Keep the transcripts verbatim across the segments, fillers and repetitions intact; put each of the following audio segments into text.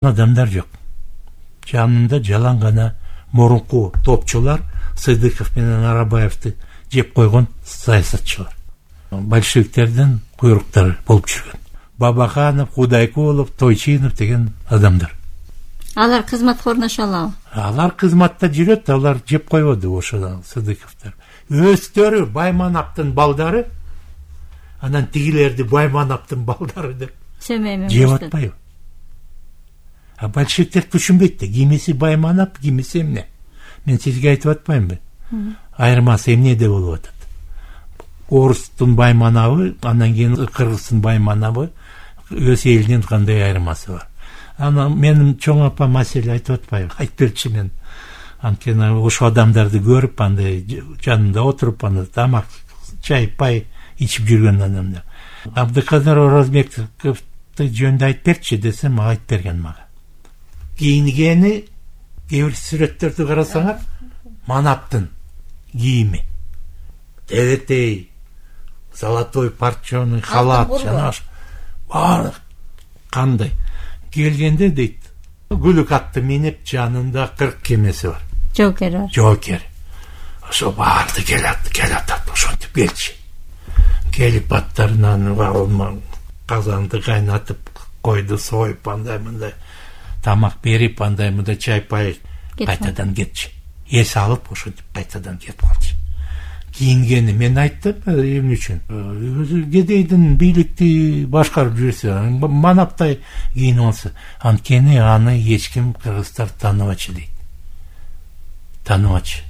адамдар жок. Жанында жалаң гана мурунку топчулар Сыдыков менен Арабаевди жеп койгон саясатчылар. Большевиктердин куйруктары болуп жүргөн. Бабаханов, Худайкулов, Тойчинов деген адамдар. Алар кызматка орношо алабы? Алар кызматта жүрөт, алар жеп койбоду ошо Сыдыковдор. Өздөрү Баймановдун балдары, анан тигилерди Баймановдун балдары деп жеп атпайбы? А большевиктер түшүнбөйт да, кимиси Байманов, кимиси эмне. Мен сизге айтып атпаймынбы? Айырмасы эмнеде болуп атат? Орустун Баймановы, анан кийин кыргыздын Баймановы, өз элинин кандай айырмасы бар? Анан менин чоң апа маселе айтып атпайбы? Айтып берчи мен. Анткени ошо адамдарды көрүп, андай жанында отуруп, аны тамак, чай, пай ичип жүргөн адамдар. Абдыкадыр Оразбековду жөнүндө айтып берчи десем, айтып берген мага. Кийингени, кээ бир сүрөттөрдү карасаңар, Манапдын кийими. Теретей, золотой парчоный халат, жана бар кандай. Келгенде дейт, күлүк атты минип, жанында кырк кемеси бар. Жокер бар. Жокер. Ошо барды келат, келатат, ошентип келчи. Келип аттарынан казанды кайнатып, койду союп, андай мындай тамак берип, андай мындай чай пай кайтадан кетчи. Эс алып, ошентип кайтадан кетип калчы. Кийингени мен айттым, эмне үчүн? Өзү кедейдин бийликти башкарып жүрсө, Манаптай кийинип алса, анткени аны эч ким кыргыздар тааныбачы дейт. Тааныбачы.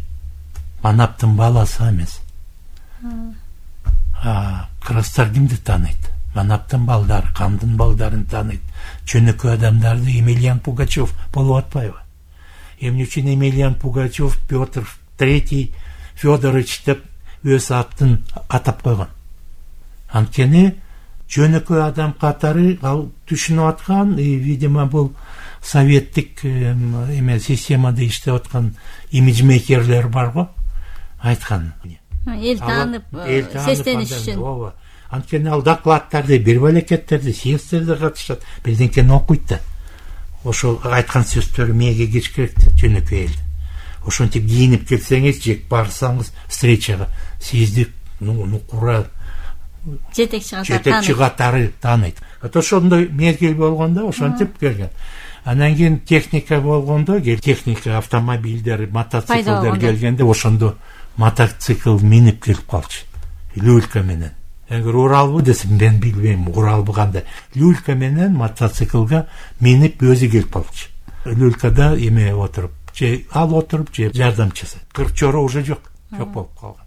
Манапдын баласы эмес. А кыргыздар кимди тааныйт? Манапдын балдары, кандын балдарын тааныйт. Чөнөкөй адамдарды Емельян Пугачев болуп атпайбы? Эмне үчүн Емельян Пугачев Петр Третий Федорович деп өз атын атап койгон? Анткени жөнөкөй адам катары ал түшүнүп аткан, видимо, бул советтик эме системада иштеп аткан имиджмейкерлер бар го, айткан. Эл таанып, сестениш үчүн. Ооба. Анткени ал докладдарды, бир балекеттерди, съездтерде катышат, бирденкени окуйт да. Ошо айткан сөздөрү мээге кеч керек жөнөкөй эл. Ошентип кийинип келсеңиз, жек барсаңыз встречага, сизди нукура жетекчи катары тааныйт. Ошондой мезгил болгондо ошентип келген. Анан кийин техника болгондо, техника, автомобилдер, мотоциклдер келгенде, ошондо мотоцикл минип келип калчы. Люлька менен. Эгер Уралбы десем, мен билбейм, Уралбы кандай. Люлька менен мотоциклга минип өзү келип калчы. Люлькада эме отуруп, же ал отуруп, же жардамчысы. Кырчору уже жок, жок болуп калган.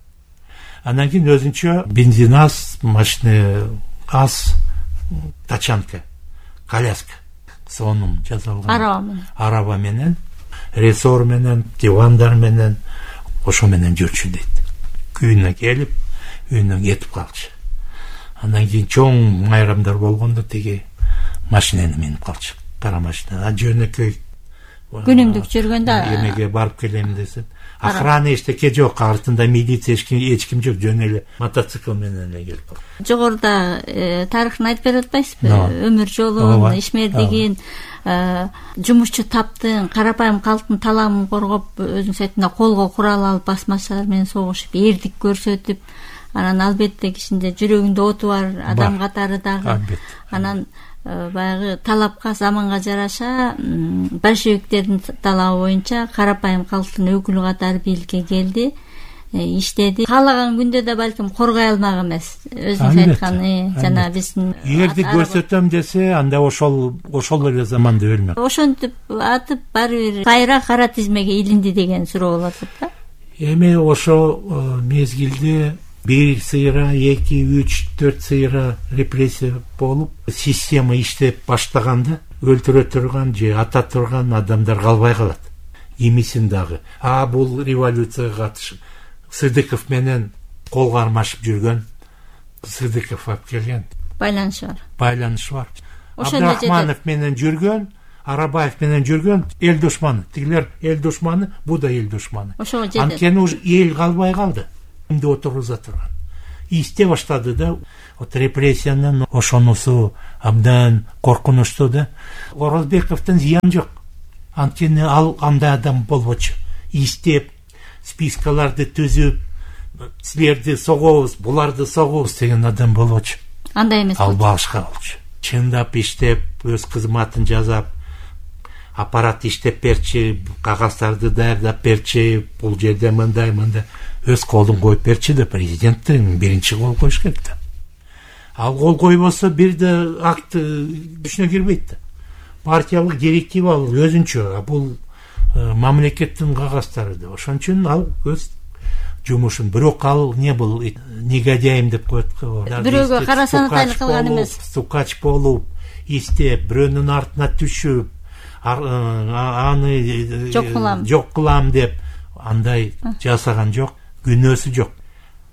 Анан кийин өзүнчө бензин аз, машина аз, тачанка, коляска, сонун жасалган. Араба менен. Араба менен, рессор менен, дивандар менен, ошо менен жүрчү дейт. Күйүнө келип, үйүнө кетип калчы. Андан кийин чоң майрамдар болгондо тиги машинени минип калчы. Кара машина. А жөнөкөй күнүмдүк жүргөндө эмеге барып келем десем, охрана эчтеке жок, артында милиция эч ким жок, жөн эле мотоцикл менен эле келип калды. Жогоруда тарыхын айтып берип атпайсызбы? Өмүр жолун, ишмердигин, жумушчу таптын, карапайым калктын таламын коргоп, өзүнүн сайтында колго курал алып, басмачылар менен согушуп, эрдик көрсөтүп, анан албетте кишинде жүрөгүндө оту бар адам катары дагы. Анан баягы талапка, заманга жараша большевиктердин талабы боюнча карапайым калктын өкүлү катары бийликке келди, иштеди. Каалаган күндө да балким коргой алмак эмес. Өзүнүз айткан, жана биздин эрди көрсөтөм десе, анда ошол ошол эле заманда өлмөк. Ошентип атып баары бир кайра кара тизмеге илинди деген суроо болот да. Эми ошо мезгилде бир сыйра, эки, үч, төрт сыйра репрессия болуп, система иштеп баштаганда өлтүрө турган же ата турган адамдар калбай калат. Кимисин дагы. А бул революцияга катышып, Сыдыков менен кол кармашып жүргөн Сыдыков алып келген. Байланышы бар. Байланышы бар. Абдрахманов менен жүргөн, Арабаев менен жүргөн эл душманы. Тигилер эл душманы, бу да эл душманы. Ошого жетет. Анткени уж эл калбай калды. Кимди отургуза турган. ийистей баштады да. Вот репрессиянын ошонусу абдан коркунучтуу да. Орозбековдун зыяны жок. Анткени ал андай адам болбочу. Ийистеп, спискаларды түзүп, силерди согобуз, буларды согобуз деген адам болбочу. Андай эмес. Ал башка болчу. Чындап иштеп, өз кызматын жасап, аппарат иштеп берчи, кагаздарды даярдап берчи, бул жерде мындай мындай өз колун коюп берчи да, президенттин биринчи кол коюш керек да. Ал кол койбосо бир да акт күчүнө кирбейт да. Партиялык директива ал өзүнчө, бул мамлекеттин кагаздары да. Ошон үчүн ал өз жумушун, бирок ал не бул негодяйым деп коет го. Бирөөгө карасанатайлык кылган эмес. Сукач болуп, истеп, бирөөнүн артына түшүп, аны жок кылам, жок кылам деп андай жасаган жок, күнөөсү жок.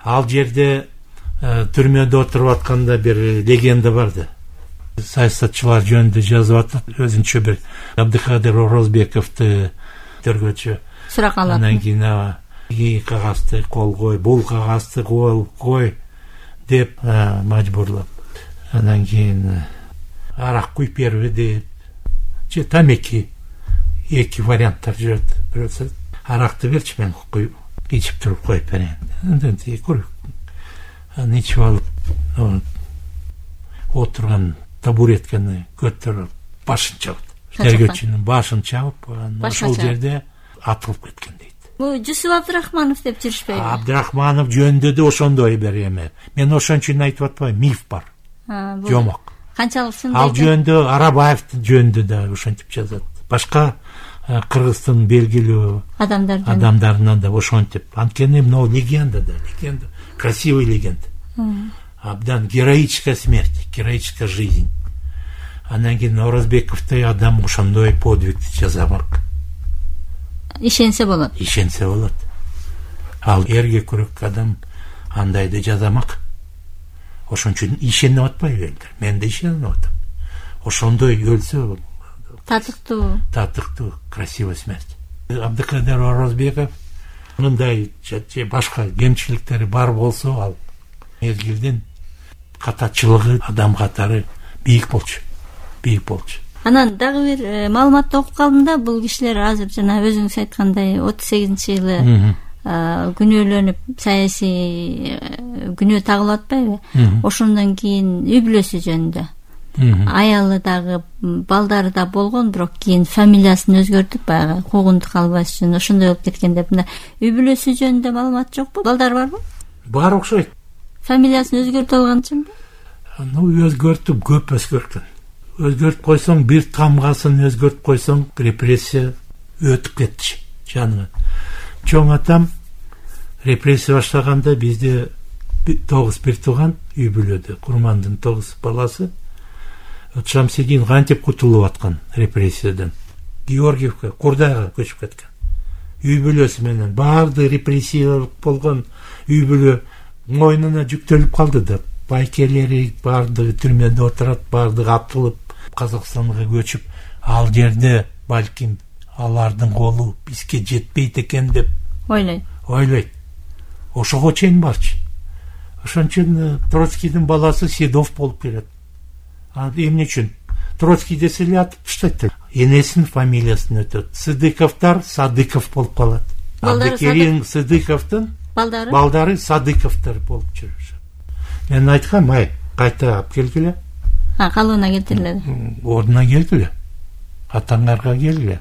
Ал жерде түрмөдө отуруп атканда бир легенда бар да. Саясатчылар жөнүндө жазып атат, өзүнчө бир Абдыкадыр Орозбековду төргөчү сурак алат. Анан кийин и кагазды кол кой, бул кагазды кол кой деп мажбурлап. Анан кийин арак куюп берби деп, же тамеки, эки варианттар жүрөт. Бирөөсү аракты берчи, мен куюп ичип туруп коюп берейин. Андан кийин анан ичип алып, отурган табуретканы көтөрүп башын чабат. Тергөөчүнүн башын чабып, ошол жерде атылып кеткен дейт. Бул Жусуп Абдрахманов деп жүрүшпөйбү? Абдрахманов жөнүндө да ошондой бир эме. Мен ошон үчүн айтып атпайм, миф бар. Жомок. Канчалык чын? Ал жөнүндө Арабаевдин жөнүндө да ошентип жазат. Башка Кыргыздын белгилүү адамдардын адамдарынан да ошентип. Анткени мына легенда да, легенда, красивый легенда. Абдан героическая смерть, героическая жизнь. Анан кийин Орозбековдой адам ошондой подвигди жасамак. Ишенсе болот. Ишенсе болот. Ал эрге күрөк адам андайды жасамак. Ошон үчүн ишенип атпайбы элдер? Мен да ишенип атам. Ошондой өлсө татыктуу, татыктуу, красивый смерть. Абдыкадыр Орозбеков мындай же башка кемчиликтери бар болсо, ал мезгилдин катачылыгы, адам катары бийик болчу. Бийик болчу. Анан дагы бир маалыматты окуп калдым да, бул кишилер азыр жана өзүңүз айткандай отуз сегизинчи жылы күнөөлөнүп, саясий күнөө тагылып атпайбы? Ошондон кийин үй бүлөсү жөнүндө. Аялы дагы, балдары да болгон, бирок кийин фамилиясын өзгөртүп, баягы куугунтук албаш үчүн ошондой болуп кеткен деп. Мына үй бүлөсү жөнүндө маалымат жокпу? Балдары барбы? Бар окшойт. Фамилиясын өзгөртүп алганчынбы? Ну, өзгөртүп, көп өзгөрткөн. Өзгөртүп койсоң, бир тамгасын өзгөртүп койсоң, репрессия өтүп кетчи жанына. Чоң атам репрессия баштаганда бизде тогуз бир тууган үй бүлөдө, Курмандын тогуз баласы Шамсидин кантип кутулуп аткан репрессиядан. Георгиевке, Курдайга көчүп кеткен. Үй бүлөсү менен баарды репрессия болгон үй бүлө мойнуна жүктөлүп калды да. Байкелери баардыгы түрмөдө отурат, баардыгы атылып Казакстанга көчүп, ал жерде балким алардын колу бизге жетпейт экен деп ойлойт. Ойлойт. Ошого чейин барчы. Ошон үчүн Троцкийдин баласы Седов болуп келет. А эмне үчүн? Троцкий десе эле атып таштайт. Энесинин фамилиясын өтөт. Сыдыковдор Садыков болуп калат. Абдыкерим Сыдыковдун балдары балдары Садыковдор болуп жүрүшөт. Мен айткам, ай, кайта алып келгиле. А, калыбына келтирилет. Ордуна келгиле. Атаңарга келгиле.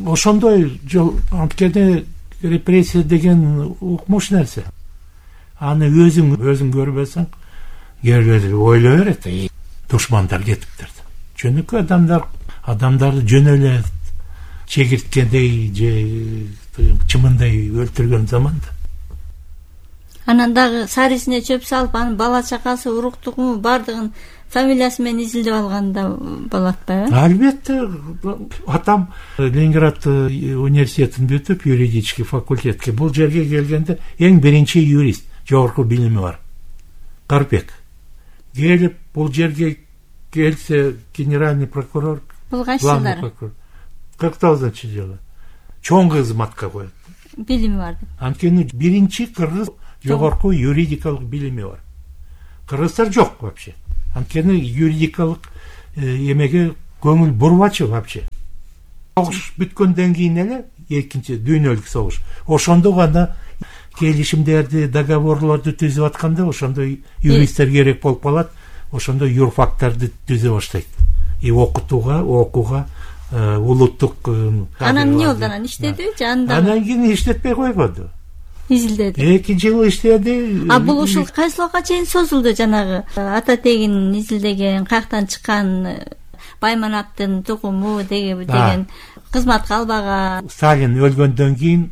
Ошондой жол, анткени репрессия деген укмуш нерсе. Аны өзүң өзүң көрбөсөң, кээде ойлой берет, душмандар кетиптир. Жөнөкөй адамдар адамдарды жөн эле чегирткендей же чымындай өлтүргөн заманда. Анан дагы сарисине чөп салып, анын бала чакасы, уруктугу баардыгын фамилиясы менен изилдеп алганда болот атпайбы? Албетте, атам Ленинград университетин бүтүп, юридический факультетке бул жерге келгенде эң биринчи юрист, жогорку билими бар. Карпек. Келип бул жерге келсе генеральный прокурор, бул кайсы жылдары? кырк тогузунчу жылы. Чоң кызматка коет. Билими бар деп. Анткени биринчи кыргыз жогорку юридикалык билими бар. Кыргыздар жок вообще. Анткени юридикалык эмеге көңүл бурбачу вообще. Согуш бүткөндөн кийин эле экинчи дүйнөлүк согуш. Ошондо гана келишимдерди, договорлорду түзүп атканда ошондо юристтер керек болуп калат. Ошондо юрфактарды түзө баштайт. И окутууга, окууга улуттук анан эмне болду? Анан иштедиби же анда? Анан кийин иштетпей койбоду. Изилдеди. эки жыл иштеди. А бул ушул кайсы убакка чейин созулду? Жанагы ата тегин изилдеген, каяктан чыккан Байманаптын тукуму деген кызматка албаган. Сталин өлгөндөн кийин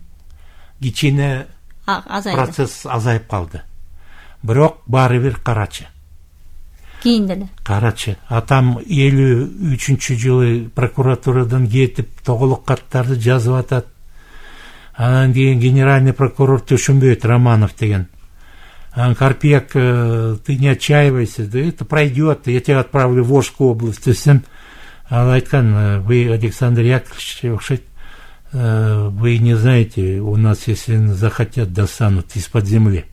кичине азайды. Процесс азайып калды. Бирок баары бир карачы. Кийин деле. Карачы. Атам элүү үчүнчү жылы прокуратурадан кетип тоголок каттарды жазып атат. Анан кийин генеральный прокурор түшүнбөйт, Романов деген. Анан Карпек, ты не отчаивайся, да это пройдет, я тебя отправлю в Волжскую область десем. Ал айткан, вы, Александр Яковлевич, окшойт, вы не знаете, у нас, если захотят, достанут из-под земли.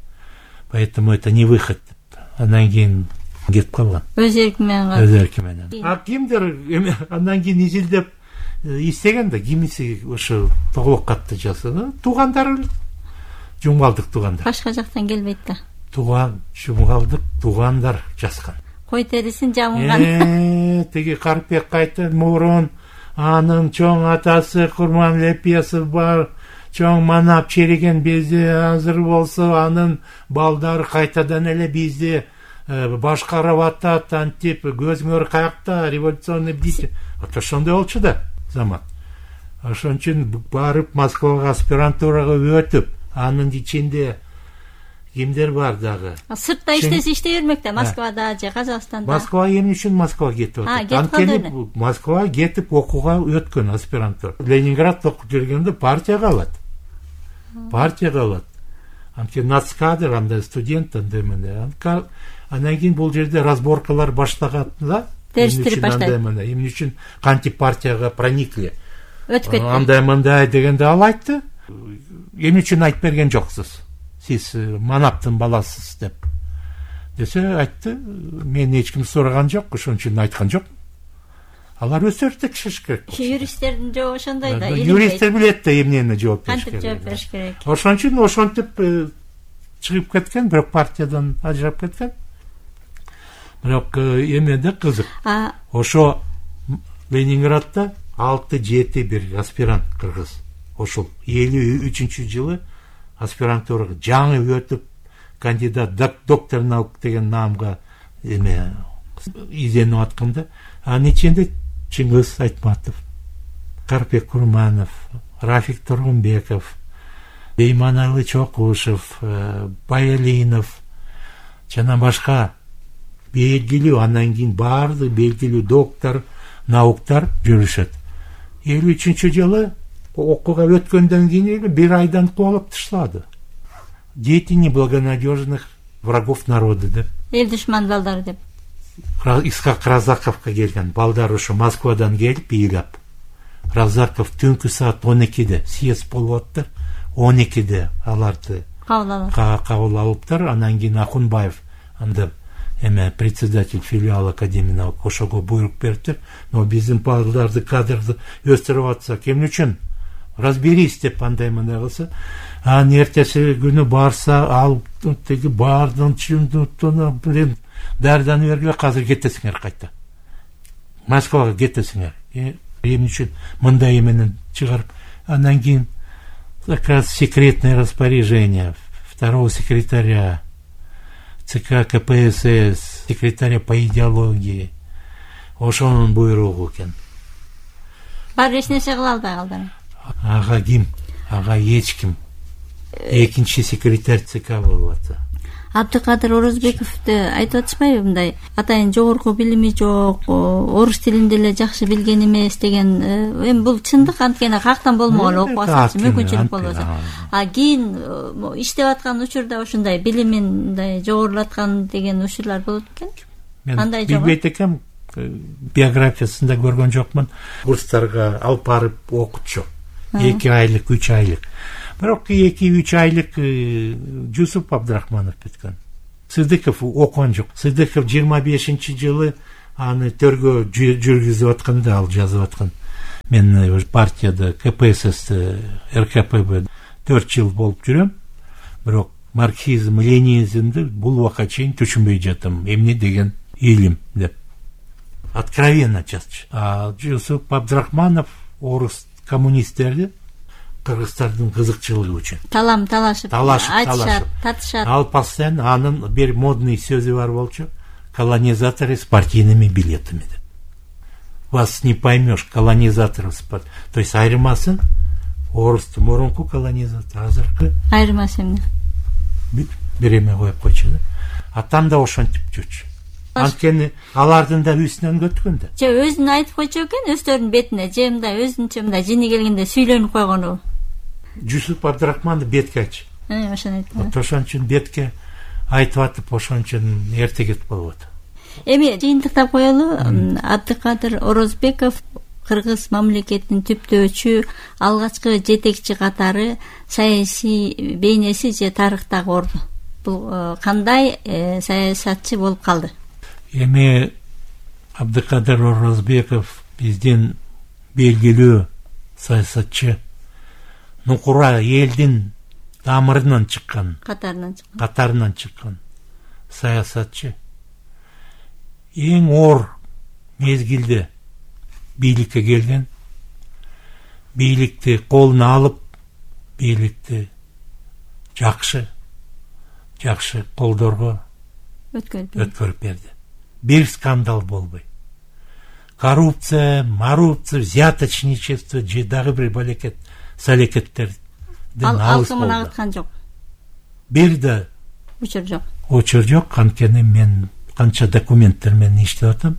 Поэтому это не выход. Анан кийин кетип калган. Өз эрки менен. Өз эрки менен. А кимдир андан кийин изилдеп истеген да, кимиси ошо тоголок катты жазды. Туугандары, жумгалдык туугандар. Башка жактан келбейт да. Туган, жумгалдык туугандар жазган. Кой терисин жамылган. Э, тиги Карпек кайта мурун анын чоң атасы Курманлепесов бар, чоң манап череген бизде азыр болсо анын балдары кайтадан эле бизди башкарып атат, антип көзүңөр каякта, революционный бдитель. Ата ошондой болчу да заман. Ошон үчүн барып Москвага аспирантурага өтүп, анын ичинде кимдер бар дагы. Сыртта иштесе иштей бермек да, Москвада же Казакстанда. Москва эмне үчүн Москвага кетип атат? Анткени Москвага кетип окууга өткөн аспирантура. Ленинградда окуп жүргөндө партияга алат. Партияга алат. Анткени нацкадр, андай студент, андай менен. Анан кийин бул жерде разборкалар баштаганда, териштирип баштайт. Эмне үчүн кантип партияга проникли? Өтүп кетти. Андай мындай дегенде ал айтты. Эмне үчүн айтып берген жоксуз? Сиз Манаптын баласысыз деп. Десе айтты, мен эч ким сураган жок, ошон үчүн айткан жок. Алар өздөрү текшериш керек. Юристтердин жообу ошондой да. Юристтер билет да эмнени жооп бериш керек. Кантип жооп бериш керек. Ошон үчүн ошентип чыгып кеткен, бирок партиядан ажырап кеткен. Бирок эмеде кызык. Ошо Ленинградда алты жети бир аспирант кыргыз. Ошол элүү үчүнчү жылы аспирантурага жаңы өтүп, кандидат доктор наук деген наамга эме изенип атканда, анын ичинде Чыңгыз Айтматов, Карпек Курманов, Рафик Тургунбеков, Бейманалы Чокушев, Байалинов жана башка белгилүү, андан кийин баардык белгилүү доктор науктар жүрүшөт. элүү үчүнчү жылы окууга өткөндөн кийин бир айдан кубалап таштады. Дети неблагонадежных врагов народа деп. Эл душман балдары деп. Исхак Разаковго келген балдар ошо Москвадан келип ыйлап. Разаков түнкү саат он экиде съезд болуп атты. он экиде аларды кабыл алыптыр. Анан кийин Акунбаев анда эме председатель филиала Академии наук ошого буйрук бериптир. Но биздин балдарды, кадрды өстүрүп атсак эмне үчүн? Разберись деп андай мындай кылса, анан эртеси күнү барса, ал теги баардын чындыктыны билем дарданы бергиле, азыр кетесиңер кайта. Москвага кетесиңер. Эмне үчүн мындай эменен чыгарып, андан кийин как раз секретное распоряжение второго секретаря ЦК КПСС, секретаря по идеологии. Ошонун буйругу экен. Бар эч нерсе кыла албай калды. Ага ким? Ага эч ким. Экинчи секретарь ЦК болуп атты. Абдыкадыр Орозбековду айтып атышпайбы мындай? Атайын жогорку билими жок, орус тилин деле жакшы билген эмес деген. Эми бул чындык, анткени каяктан болмогон окуп атса мүмкүнчүлүк болбосо. А кийин иштеп аткан учурда ушундай билимин мындай жогорулаткан деген учурлар болот экен. Андай жок. Билбейт экенмин. Биографиясында көргөн жокмун. Курстарга алып барып окутчу. эки айлык, үч айлык. бирок эки үч айлык Жусуп Абдрахманов бүткөн. Сыдыков окон жок. Сыдыков жыйырма бешинчи жылы аны төргө жүргүзүп атканда ал жазып аткан. Мен партияда КПСС эр ка пэ бэ төрт жыл болуп жүрөм. Бирок марксизм, ленинизмди бул убакка чейин түшүнбөй жатам. Эмне деген илим деп. Откровенно жазчу. А Жусуп Абдрахманов орус коммунисттерди кыргыздардын кызыкчылыгы үчүн талам талашып айтышат, татышат. Ал постоянно анын бир модный сөзү бар болчу: колонизаторы с партийными билетами деп. Вас не поймешь, колонизаторы с партиями. То есть айырмасын орустун мурунку колонизатор, азыркы айырмасы эмне? Бир эме коюп койчу да. Атам да ошентип жүрчү. Анткени алардын да үстүнөн өткөн да. Же өзүн айтып койчу экен, өздөрүнүн бетине, же мындай өзүнчө мындай жини келгенде сүйлөнүп койгону. Жусуп Абдрахманов бетке айтчу. Э, ошону айтты. Ошон үчүн бетке айтып атып, ошон үчүн эрте кетип калып атат. Эми жыйынтыктап коелу, Абдыкадыр Орозбеков кыргыз мамлекетинин түптөөчү, алгачкы жетекчи катары саясий бейнеси же тарыхтагы орду. Бул кандай саясатчы болуп калды? Эми Абдыкадыр Орозбеков биздин белгилүү саясатчы, нукура элдин тамырынан чыккан, катарынан чыккан, катарынан чыккан саясатчы. Эң оор мезгилде бийликке келген, бийликти колуна алып, бийликти жакшы жакшы колдорго өткөрүп берди. Бир скандал болбой. Коррупция, марупция, взяточничество же дагы бир балекет салекеттерден алыс болду. Алкымын агыткан жок. Бир да учур жок. Учур жок. Анткени мен канча документтер менен иштеп атам.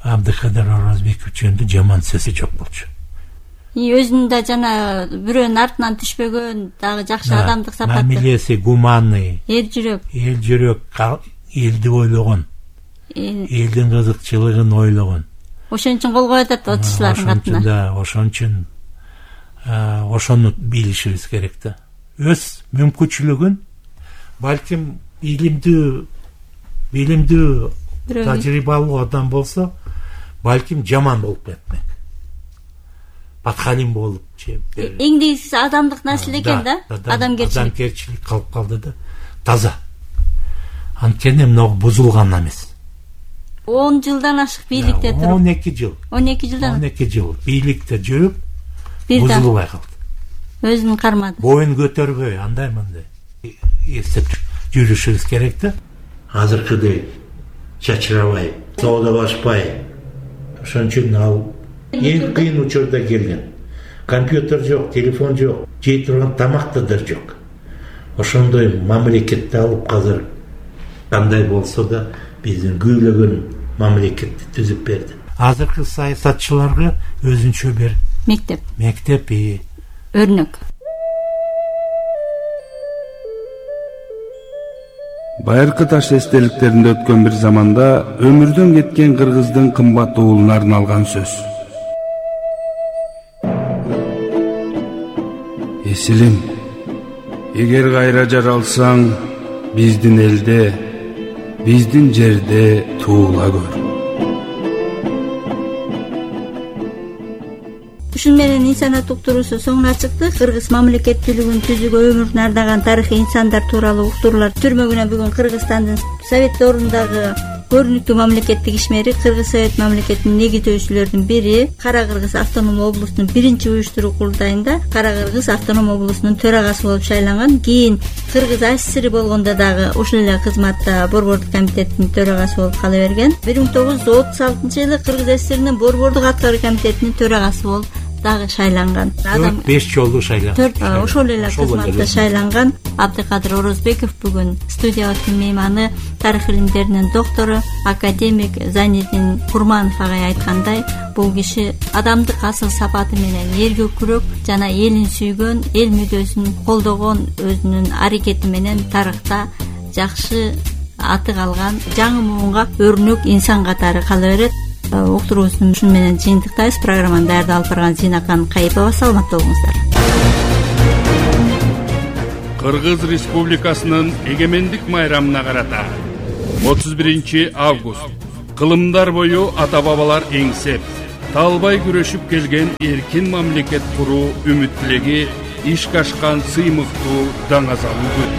Абдыкадыр Орозбеков жөнүндө жаман сөзү жок болчу. И өзүнүн да жана бирөөнүн артынан түшпөгөн, дагы жакшы адамдык сапаты. Мамилеси гуманный. Эл жүрөк. Эл жүрөк, элди ойлогон. Элдин кызыкчылыгын ойлогон. Ошон үчүн кол коюп атат отчуулардын катына. Да, ошон үчүн ошону билишибиз керек да. Өз мүмкүнчүлүгүн балким илимдүү, билимдүү, тажрыйбалуу адам болсо, балким жаман болуп кетмек. Баткалим болуп же. Эң негизгиси адамдык нерсе экен да, адамгерчилик. Адамгерчилик калып калды да. Таза. Анткени могу бузулган эмес. он жылдан ашык бийликте туруп. он эки жыл. он эки жылдан. он эки жыл бийликте жүрүп, бузулбай калды. Өзүн кармады. Боюн көтөрбөй, андай мындай эстеп жүрүшүбүз керек да. Азыркыдай чачырабай, соодалашпай. Ошон үчүн ал эң кыйын учурда келген. Компьютер жок, телефон жок, жей турган тамак да жок. Ошондой мамлекетти алып азыр кандай болсо да биздин күүлөгөн мамлекетти түзүп берди. Азыркы саясатчыларга өзүнчө бир мектеп. Мектеп и өрнөк. Байыркы таш эстеликтеринде өткөн бир заманда өмүрдөн кеткен кыргыздын кымбат уулуна арналган сөз. Эсилим, эгер кайра жаралсаң, биздин элде, биздин жерде туула көр. Ушун менен инсаният уктуруусу соңуна чыкты. Кыргыз мамлекеттүүлүгүн түзүүгө өмүрүн ардаган тарыхый инсандар тууралуу уктуруулар түрмөгүнөн бүгүн Кыргызстандын Совет ордундагы көрүнүктүү мамлекеттик ишмери, Кыргыз Совет мамлекетинин негиздөөчүлөрүнүн бири, Кара Кыргыз автоном облусунун биринчи уюштуруу курултайында Кара Кыргыз автоном облусунун төрагасы болуп шайланган. Кийин Кыргыз АССР болгондо дагы ушул эле кызматта борбордук комитеттин төрагасы болуп кала берген. бир миң тогуз жүз отуз алтынчы жылы Кыргыз ССРинин борбордук аткаруу комитетинин төрагасы болуп дагы шайланган. Адам беш жолу шайланган. Төрт ошол эле кызматта шайланган Абдыкадыр Орозбеков бүгүн студиябыздын мейманы, тарых илимдеринин доктору, академик Зайнидин Курманов агай айткандай, бул киши адамдык асыл сапаты менен элге күрөк жана элин сүйгөн, эл мүддөсүн колдогон өзүнүн аракети менен тарыхта жакшы аты калган, жаңы муунга өрнөк инсан катары кала берет. Уктуруусун ушун менен жыйынтыктайбыз. Программаны даярдап алып барган Зинакан Кайыпова. Саламатта болуңуздар. Кыргыз Республикасынын эгемендик майрамына карата отуз биринчи август кылымдар бою ата-бабалар эңсеп, талбай күрөшүп келген эркин мамлекет куруу үмүт тилеги ишке ашкан сыймыктуу даңазалуу күн.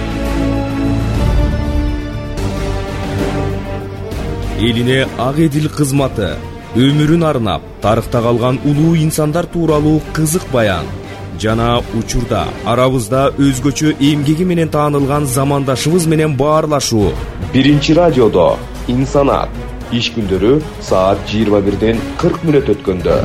Элине ак эдил кызматы, өмүрүн арнап, тарыхта калган улуу инсандар тууралуу кызык баян жана учурда арабызда өзгөчө эмгеги менен таанылган замандашыбыз менен баарлашуу. Биринчи радиодо инсанат иш күндөрү саат жыйырма бирден кырк мүнөт өткөндө.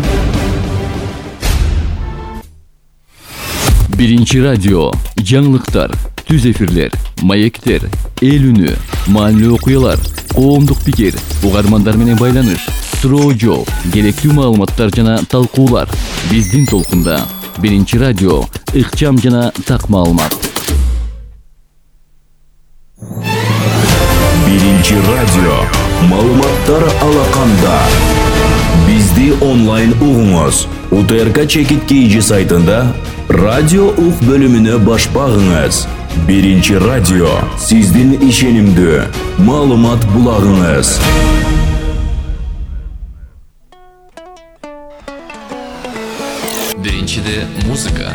Биринчи радио, жаңылыктар, түз эфирлер, маектер, эл үнү, маанилүү окуялар, коомдук пикир, угармандар менен байланыш, суроо жооп, керектүү маалыматтар жана талкуулар. Биздин толкунда Биринчи радио, ыкчам жана так маалымат. Биринчи радио, маалыматтар алаканда. Бизди онлайн угуңуз. УТРК Чекит Кейжи сайтында радио ук бөлүмүнө баш багыңыз. Биринчи радио, сиздин ишенимдүү маалымат булагыңыз. Биринчиде музыка,